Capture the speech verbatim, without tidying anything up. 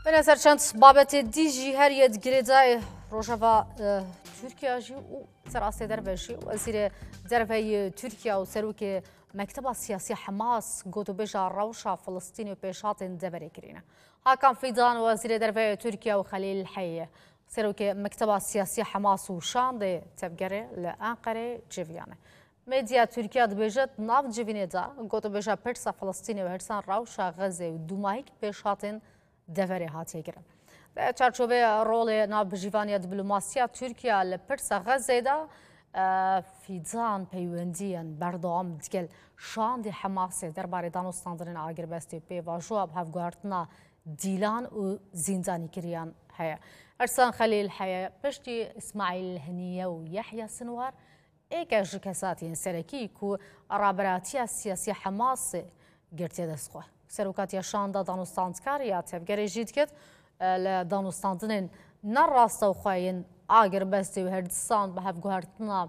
Bine ser çend babetê dî jî her yê di girêdayê rojeva e, Tirkiye jî û serastê derve jî. Wezîrê derve yê Tirkiye û serokê Mekteba Siyasî Hamas gotûbêja rewşa Filistînê û pêşhatên deverê kirîne. Hakan Fidan, wezîrê derve yê Tirkiye û Xelîl Heyê, serokê Mekteba Siyasî Hamas û şandê tevgerê li Enqerê civiyane. Medya Tirkiye dibêje, di nav civînê de gotûbêja pirsa Filistînê û hirsan rewşa Xezê û dûmahîk pêşhatên deverê hatiye kirin. Di çarçovê rolê navbijîvaniya diplomasiya Tirkiye li pirsa Xezê de, e, Fidan peywendiyên berdewam digel şandê Hemasê derbarê danûstandinên agirbestê û pêvajoya bi hevguhertina dîlan û zîndanîkiriyan heye. Ersan Xelîl heye, piştî Îsmaîl Heniye û Yehya Sinwar, êk e ji kesatiyên serekî ku raberatiya siyasî Hemasê girtiye dest xwe. Serokatiya şanda danûstandkar ya tevgerê jî dikit, e, li danûstandinên ne rastewxwe yên agirbestê û her disan bi hevguhertina